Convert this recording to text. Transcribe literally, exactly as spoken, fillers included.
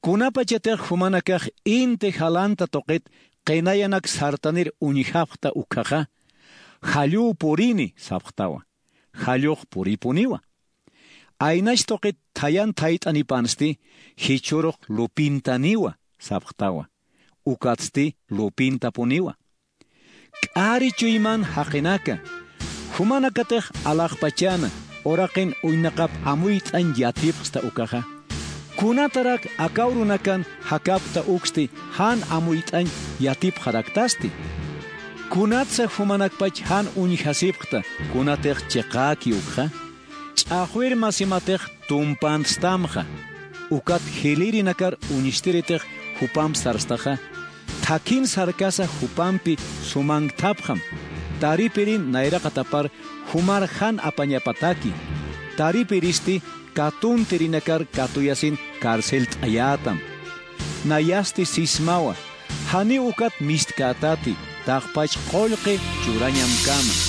Kunapachatix jumanakax inti jalanta tuqit qinayanak sartanir uñjapxta ukhaxa, "Jallüw purini", sapxtawa. Jallux puripuniwa. Aynach tuqit thayan thayt'anipansti, "Jichhürux lupintaniwa", sapxtawa. Ukatsti lupintapuniwa. K'ari chuyman jaqinaka, jumanakatix alaxpachana, uraqin uñnaqap amuyt'añ yatipxsta ukaxa. Kunatarak aka urunakan jakapta uksti jan amuyt'añ yatipxaraktasti. Kunatsa jumanakpach jan uñjasipxta, kunatix chiqäki ukxa. Ch'axwir masimatix tumpantstamxa, ukat jilïrinakar uñstiritix jupamp sarstaxa, thakhin sarkasa jupampi sumanktapxam. Taripirin nayraqatapar jumar jan apañapataki. Taripiristi katuntirinakar katuyasin carcelt'ayätam. Nayasti sismawa, janiw ukat mistkätati, taqpach qullqi churañamkama.